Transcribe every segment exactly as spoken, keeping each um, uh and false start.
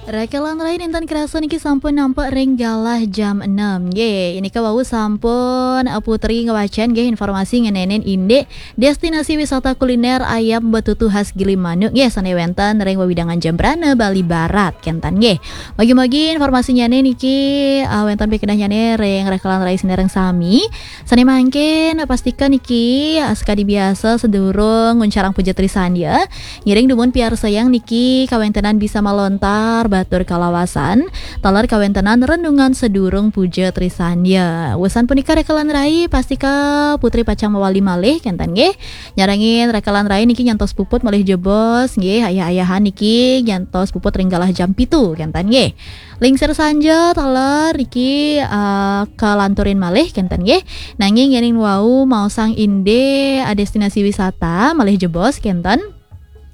Rakelan rai, nénten kerasa niki sampun nampek ring galah jam enam. Nggih, inika wau sampun, eh, Putri ngwacén nggih informasi ngenénin indik destinasi wisata kuliner ayam betutu khas Gilimanuk nggih sané wénten ring wewidangan Jembrana, Bali Barat kénten nggih. Mugi-mugi informasinyané niki, eh, wénten pikandahnyané ring rakelan rai sinareng sami. Sané mangkin pastika niki, eh, sakadi biasa sadurung nguncarang puja trisandya, ngiring dumun piarsayang niki kawéntenan bisa malontar batur kalawasan, taler kawéntenan renungan sadurung puja trisandya. Wusan punika rakelan rai, pastika Putri pacang mawali malih kénten nggih. Nyarengin rakelan rai niki nyantos puput malih jebos nggih, ayah-ayahan niki nyantos puput ring galah jam pitu kénten nggih. Lingsir sanja taler niki, eh, kalanturin malih kénten nggih. Nanging yéning wau maosang indik, eh, destinasi wisata malih jebos kénten.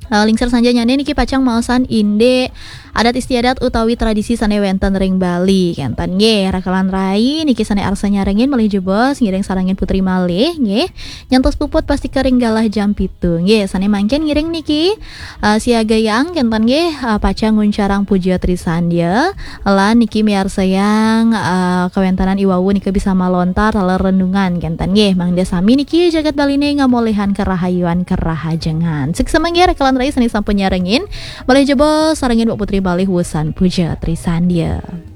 Eh, lingsir sanjanyané niki pacang maosang indik adat istiadat utawi tradisi sané wénten ring Bali kénten nggih. Rakelan rai niki sané arsa nyarengin malih jebos ngiring sarengin Putri malih nggih. Nyantos puput pastika ring galah jam pitu nggih. Sané mangkin ngiring niki, eh, siagayang kénten nggih, eh, pacang nguncarang puja trisandya. Lan niki miarsayang, eh, kawéntenan i wau nika bisa malontar taler renungan kénten nggih. Mangda sami niki jagat Baliné ngamolihang karahayuan karahajengan. Suksma nggih rakelan rai sané sampun nyarengin. Malih jebos sarengin Mbok Putri malih wusan puja trisandya.